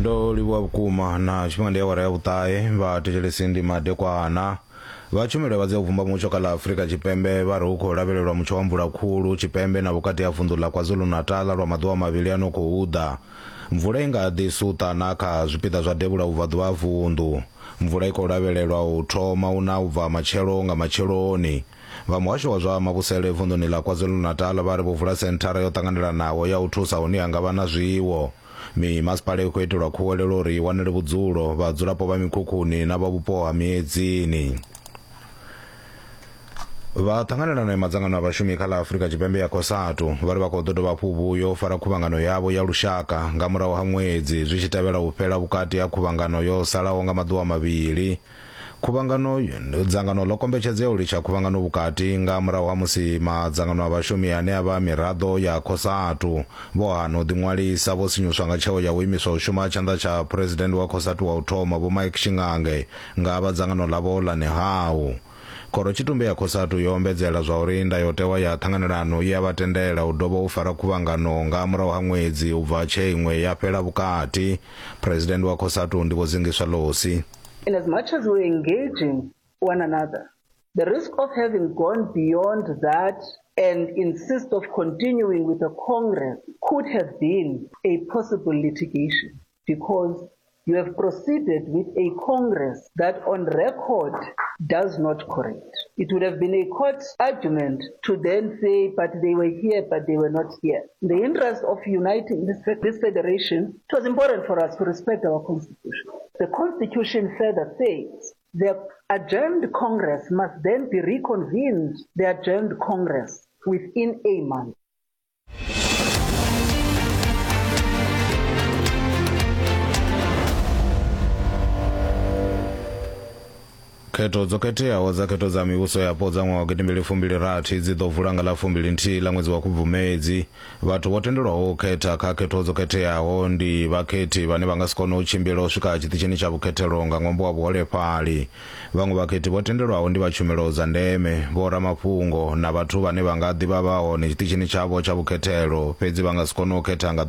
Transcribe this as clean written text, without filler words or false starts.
Ndo livhuwa vhukuma na tshifhinga ndi awara ya vhuṱahe vha thetshelesi ndi madekwana. Vha tshumelo ya vhadzia u vhumba mutsho kha ḽa Afrika Tshipembe vha ri hu khou lavhelelwa mutsho wa mvula khulu tshipembe na vhukati ha vunḓu ḽa KwaZulu-Natal lwa maḓuvha mavhili ano khou ḓa. Mvula i nga ḓi suṱa na kha zwipiḓa zwa devhula vhubvaḓuvha ha vunḓu. Mvula i khou lavhelelwa u thoma u na u bva matshelo nga matsheloni. Vha muhasho wa zwa mavhusele vunḓuni ḽa KwaZulu-Natal vha ri vho vula senthara yo ṱanganelanaho ya u thusa hune ha nga vha na zwiwo. Mimasipala i khou itelwa khuwelelo uri i wanele vhudzulo vhadzulapo vha mikhukhuni na vha vhupo ha miedzini. Vha ṱhanganelano ya madzangano a vhashumi kha ḽa Afrika Tshipembe ya COSATU vha ri vha khou ḓo dovha hafhu vhuyo fara khuvhangano yavho ya lushaka nga murahu ha ṅwedzi zwi tshi tevhela u fhela vhukati ha khuvhangano yo salaho nga maḓuvha mavhili. Khuvhangano dzangano ḽo kombetshedzea u litsha khuvhangano vhukati nga murahu ha musi madzangano a vhashumi ane a vha miraḓo ya COSATU vho hana u ḓiṅwalisa vho sinyuswa nga tsheo ya u imiswa u shuma ha tshanḓa tsha phuresidennde wa COSATU wa u thoma Vho Mike Shingange nga vha dzangano ḽavho ḽa NEHAWU. Khorotshitumbe ya COSATU yo ombedzela zwauri ndayotewa ya ṱhanganelano i a vha tendela u dovha u fara khuvhangano nga murahu ha ṅwedzi u bva tshe iṅwe ya fhela vhukati. Phuresidennde wa COSATU ndi Vho Zingiswa Losi. In as much as we're engaging one another, the risk of having gone beyond that and insist of continuing with the Congress could have been a possible litigation because you have proceeded with a Congress that on record does not correct. It would have been a court argument to then say, but they were here, but they were not here. In the interest of uniting this, this federation, it was important for us to respect our constitution. The constitution further says the adjourned Congress must then be reconvened, the adjourned Congress, within a month. Khetho dzo khetheaho dza khetho dza mivhuso yapo dza ṅwaha wa gidimbili fumbili rathi dzi ḓo vula nga ḽa fumbili nthihi ḽa ṅwedzi wa Khubvumedzi. Vhathu vho tendelwaho u khetha kha khetho dzo khetheaho ndi vhakhethi vhane vha nga si kone u tshimbila u swika tshiṱitshini tsha vhukhethelo nga ṅwambo wa vhuholefhali. Vhaṅwe vhakhethi vho tendelwaho ndi vha tshumelo dza ndeme, vhoramafhungo na vhathu vhane vha nga ḓi vha vha hone tshiṱitshini tshavho tsha vhukhethelo fhedzi vha nga si kone u khetha nga.